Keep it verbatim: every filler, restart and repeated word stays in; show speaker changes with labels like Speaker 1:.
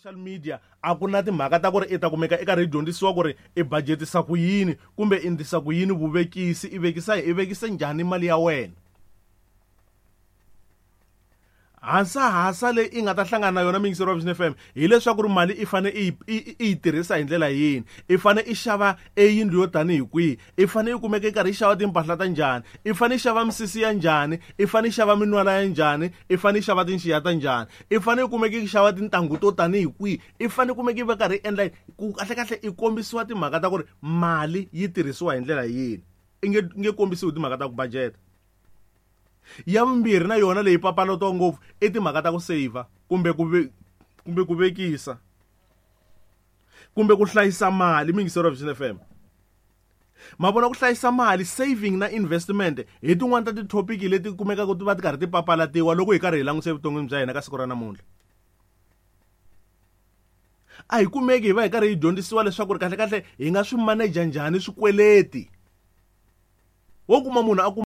Speaker 1: Social media a ku na timhaka ta ku ri i ta kumeka i karhi i dyondzisiwa ku ri i budgetisa ku yini kumbe i ndlisa ku yini vuvekisi, i vekisa i vekise njhani mali ya wena. Hasahasa leyi i nga ta hlangana na yona muyingiseri wa Vision F M hileswaku ri mali i fane i yi, i yi tirhisa hi ndlela yini, i fane i xava e yindlu yo tanihi kwihi, i fane i kumeka i karhi i xava timpahla ta njhani, i fane i xava misisi ya njhani, i fane i xava minwala ya njhani, i fane i xava tinxiya ta njhani, i fane i kumeka i xava tintangu to tanihi kwihi, i fane i kumeka i va karhi i endla ku kahle kahle i kombisiwa timhaka ta ku ri mali yi tirhisiwa hi ndlela yini, i nge nge kombisiwi timhaka ta ku budget. Ya vumbirhi na yona leyi papalatiwa ngopfu i timhaka ta ku saver kumbe ku ve-, kumbe ku vekisa kumbe ku hlayisa mali. Muyingiseri wa Vision F M, ma vona ku hlayisa mali, saving na investment hi tin'wani ta ti-topic leti kumekaka ti va ti karhi ti papalatiwa loko hi karhi hi langutisa evuton'wini bya hina ka siku ra namuntlha. A hi kumeki hi va hi karhi hi dyondzisiwa leswaku ri kahle kahle hi nga swi manager njhani swikweleti. Wo kuma munhu a kuma